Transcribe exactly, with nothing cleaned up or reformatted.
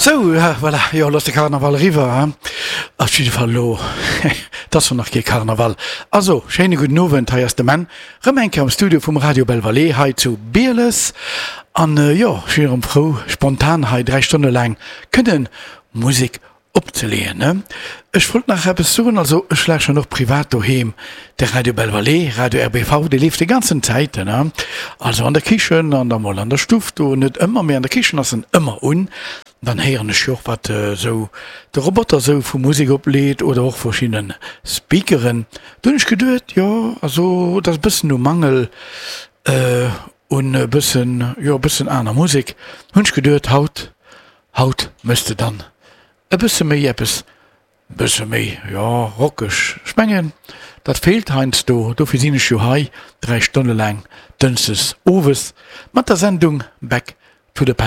Sou, voilà, jo, elo ass de Karnaval eriwwer, hein? Op jidde Fall elo, et ass jo nach kee Karnaval. Also, schéine gudden Owend, hei ass de Menn, rëm eng Kéier am Studio vum Radio Belle Vallée hei zu Bieles. An jo, ech sinn erëm frou, spontan hei dräi Stonne laang kënnen Musek opzeleeën, ne? Ech wollt nach eppes soen, also ech lauschteren och privat doheem de Radio Belle Vallée, Radio RBV, dee leeft déi ganzen Zäiten, ne? Also an der Kichen an da mol an der Stuff do, net ëmmer, mee an der Kichen ass en ëmmer un. Dann héieren ech jo och wat esou de Roboter esou vu Musek opleet oder och verschidde Speakeren. Do hunn ech geduet, jo, also et ass e bëssen u Mangel un e bëssen, jo e bëssen aner Musek, hunn ech geduet, haut, haut méchs de dann e bësse méi eppes, e bësse méi, jo, rockeg. Ech mengen, dat feelt heiansdo. Dofir sinn ech jo hei dräi Stonne laang dënschdes owes mat der Sendung Back to the Past.